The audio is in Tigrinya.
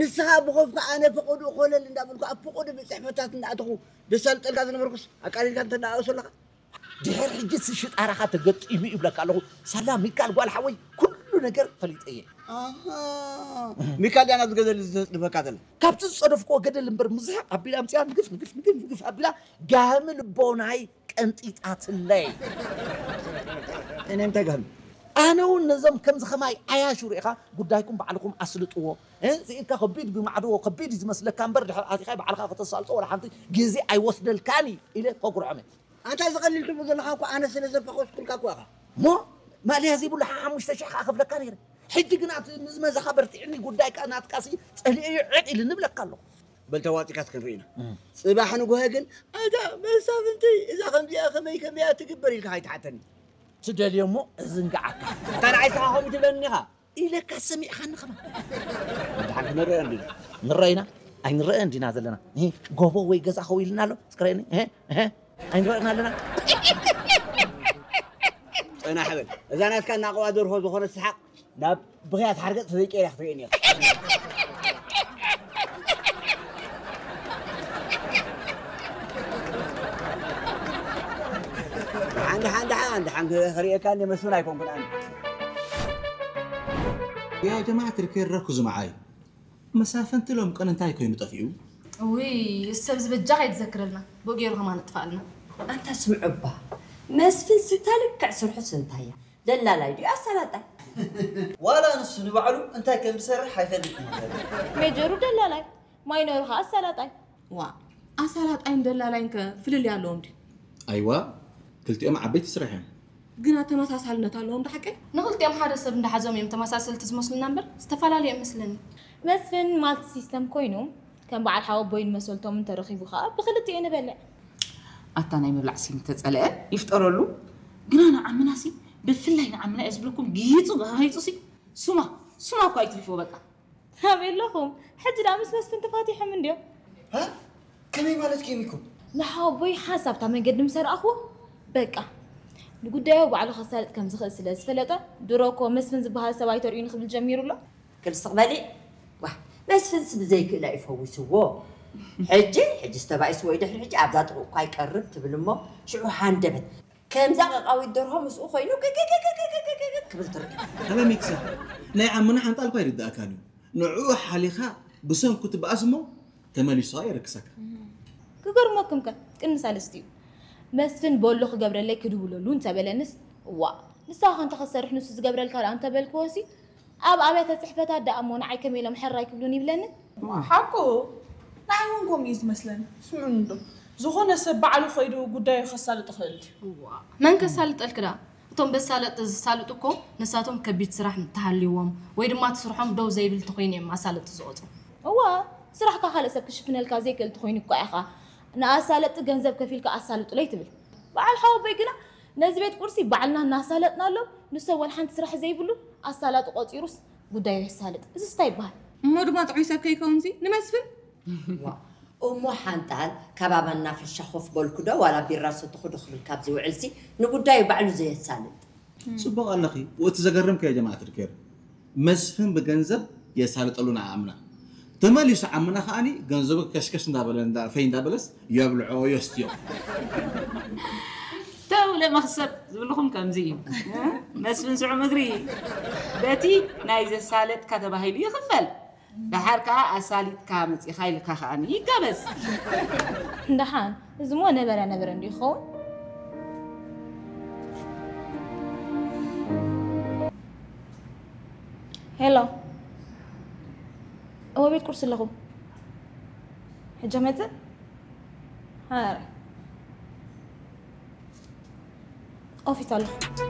ንስኻ ብኾፍካ ኣነ ፈቐድኡ ኮለል እንዳበልኩ ኣብ ፈቐድኡ ቤት ጽሕፈታት እንዳኣተኹ ደሳልጠልካ ዝነበርኩስ ኣቃሊልካ እንተ እንዳኣእሶ ኣለኻ። ድሕር ሕጂ ሽጣራኻ ተገጢሙ ይብለካ ኣለኹ። ሳላ ሚካል ጓል ሓወይ ኩሉ ነገር ፈሊጠ እየ። ኣሃ፣ ሚካል ድያ ናብ ዝገደል ዘጽድፈካ ዘላ? ካብቲ ዝጸደፍክዎ ገደል እምበር ምዝሕቕ ኣቢላ ኣምጺኣ ንግፍ ንግፍ ንግፍ ንግፍ ኣቢላ ጋህሚ ልቦናይ ቀንጢጣትለይ። እኔ እንታይ ጋህሚ? ኣነ እውን ነዞም ከምዚ ኸማይ ዓያሹ ርኢኻ ጉዳይኩም ባዕልኹም ኣስልጥዎ። እ፣ ስኢልካ ከቢድ ብማዕድዎ ከቢድ እዩ ዝመስለካ እምበር ድሕር ኣቲኻ ባዕልኻ ከተሳልጦ ወላ ሓንቲ ግዜ ኣይወስደልካን እዩ ኢለ ከጉርዖም እየ። ኣንታ እዚ ቀሊል ትብሎ ዘለኻ እኮ ኣነ ስለ ዘፈኾስኩልካ እኮ ኢኻ። እሞ ማእለያ ዘይብሉ ሓሙሽተ ሽሕ ከኣ ከፍለካ ነይረ። ሕጂ ግና እቲ ምዝመዛኻ በርቲዕኒ ጉዳይካ ናትካሲ ጸሊኤዮ ዕቕ ኢልኒ እብለካ ኣለኹ። በል ተዋጺካስ ክንርኢ ኢና። እም። ጽባሕ ንግሆ ግን ኣታ መሳፍንቲ እዛ ከምዚኣ ከመይ ከመያ ትግበር ኢልካ ከይትሓተኒ። ትደልዮ እሞ እዝንግዓካ። ኣታ ንዓይ ስኻ ከምኡ ትብለኒ ኢኻ። ኢለካ ሰሚዕኻኒ ኸማ። ንሓንቲ ንረአ እንዲና። ንረአና? ኣይንረአን እንዲና ዘለና። እህ፣ ጎቦ ወይ ገዛ ኸው ኢልና ኣሎ? እስከ ረአኒ። እህ፣ እህ፣ ኣይንረአን ኣለና? ጽናሕ በል። እዛ ናትካ እናቐዋ ደርሆ ዝኾነ ሰሓቕ ናብ ብኽያት ሓርገጽ ተዘይቀይራ ክትርእየኒ ኢኻ። ደሓን፣ ደሓን፣ ደሓን፣ ደሓን ክርእየካ እንደ መስፍን ኣይኮንኩን ኣነ። ያ ጀማዓት ሪኬር ረኩ ዝመዓይ። መሳፍንቲ ሎም ቀን እንታይ ኮይኑ ጠፊኡ? ውይ፣ ሰብ ዝበጃ ከይትዘክረልና። ብኡ ገይሩ ከማን እጥፋልና። ኣንታ ስምዑ እባ፣ መስፍን ስታ ልክዕ ስርሑ ስንታያ። ደላላይ ድዩ ኣሳላጣይ? ዋላ ንሱ ንባዕሉ እንታይ ከም ዝሰርሕ ኣይፈልጥን እዩ። ሜጀሩ ደላላይ፣ ማይነሩ ኸኣ ኣሳላጣይ። ዋ፣ ኣሳላጣይን ደላላይን ከ ፍልልይ ኣለዎም ድዩ? ኣይዋ፣ ክልቲኦም ዓበይቲ ስራሕ እዮም። ግና ተመሳሳልነት ኣለዎም ዶ ሓቀይ? ንኽልቲኦም ሓደ ሰብ እንዳሓዞም እዮም ተመሳሰልቲ ዝመስሉና እምበር ዝተፈላለዩ እዮም መስለኒ። መስፍን ማልቲ ሲስተም ኮይኑ ከም በዓል ሓወቦይን መሰልቶም እንተረኺቡ ኸኣ ብኽልቲኡ ንበልዕ። ኣታ ናይ ምብላዕ ሲም ተጸለአ ይፍጠረሉ። ግና ንዓምናሲ ብፍላይ ንዓምና እየ ዝብለኩም ጊይጹ ጋይጹሲ ሱማ ሱማ እኳ ኣይትሪፍዎ በቃ። ኣበይ ኣለኹም? ሕጂ ደኣ ምስ መስፍን ተፋቲሖም እንድዮም። ሃ? ከመይ ማለት ኪም ኢኩም? ንሓወቦይ ሓንሳብ እታ መንገዲ ምስ ኣርኣኽዎ፣ በቃ፣ ንጉዳዩ ባዕሉ ከሳልጥ ከም ዝኽእል ስለ ዝፈለጠ፣ ድሮ እኮ መስፍን ዝበሃል ሰብ ኣይተርእዩኒ ክብል ጀሚሩ ኣሎ። ክልስቕ በሊ። ዋህ፣ መስፍንስ ብዘይክእላ እዩ ፈዊስዎ። ሕጂ፣ ሕጂስ ተባኢስዎ እዩ ድሕሪ ሕጂ ኣብዛ ጥቕኡ እኳ ኣይቀርብ ትብል እሞ፣ ሽዑ ሃንደበት። ከምዛ ቀቃዊት ደርሆ ምስኡ ኮይኑ ክብል ትርኢ። ሃለ ሚክሳ፣ ናይ ዓምና ሓንጣል እኳ ኣይርድኣካን እዩ። ንዕኡ ሓሊኻ ብሰንኩ ትበኣስ እሞ ተመሊሱ ኸኣ የረክሰካ። ክገርመኩም ከ፣ ቅድሚ ሳልስቲኡ መስፍን በሎ ክገብረለይ ክድውለሉ እንተበለንስ፣ እዋእ፣ ንስኻ ከ እንተ ክትሰርሕ ንሱ ዝገብረልካ ደኣ እንተበልክዎሲ፣ ኣብ ኣብያተ ጽሕፈታት ደኣ እሞ ንዓይ ከመይ ኢሎም ሕራይ ክብሉን ይብለኒ። ሓቁ፣ ንዓይ እውን ከምኡ እዩ ዝመስለኒ። ስምዑኒ እንዶ፣ ዝኾነ ሰብ ባዕሉ ኸይዱ ጉዳዩ ከሳልጥ ይኽእል ድዩ? እዋእ፣ መን ከሳልጠልኪ ደኣ? እቶም በሳለጥ ዝሳልጡ እኮ ንሳቶም ከቢድ ስራሕ እንተሃልይዎም ወይ ድማ እቲ ስርሖም ደው ዘይብል እንተኾይኑ እዮም ኣሳለጥቲ ዝቖጽሩ። እዋ፣ ስራሕካ ካልእ ሰብ ክሽፍነልካ ዘይክእል እንተኾይኑ እኳ ኢኻ ንኣሳለጥቲ ገንዘብ ከፊልካ ኣሳልጡለይ ትብል። በዓል ሓወቦይ ግና ነዚ ቤት ቁርሲ ባዕልና እናሳለጥናሎም ንሶም ወላ ሓንቲ ስራሕ ዘይብሉ ኣሳላጢ ቆጺሩስ ጉዳዩ የሳልጥ። እዚስ እንታይ ይበሃል? እሞ ድማ ጥዑይ ሰብ ከይከውንሲ ንመስፍን? ዋ፣ እሞ ሓንጣል፣ ካባባ እናፈሻ ኮፍ በልኩ ዶ፣ ዋላ ቢራ ሰተኹ ዶ ክብል ካብ ዝውዕልሲ፣ ንጉዳዩ ባዕሉ ዘየሳልጥ። ጽቡቕ ኣለኺ። ወቲ ዘገርም ከየ ጀማዓት ሪኬር። መስፍን ብገንዘብ የሳልጠሉ ንዓምና። ተመሊሱ ዓምና ከኣኒ ገንዘቡ ከሽከሽ እንዳበለ፣ እንዳ-፣ ፈይ እንዳበለስ የብልዖ፣ የስትዮ። ተው ለመኽሰብ ዝብልኹም ከምዚ እዩ። መስፍን ስዑም እግሪ በቲ ናይ ዘሳለጥካ ተባሂሉ ይኽፈል። ደሓር ከኣ ኣሳሊጥካ መጺኻ ኢልካ ከኣ ይጋበዝ። ደሓን፣ እዚ እሞ ነበረ ነበረ እንዲዩ ክኸውን። ሄሎ፣ እወ ቤት ቁርሲ ኣለኹ። ሕጂ መጽእ? ኧረ፣ ኦፊስ ኣለኹ።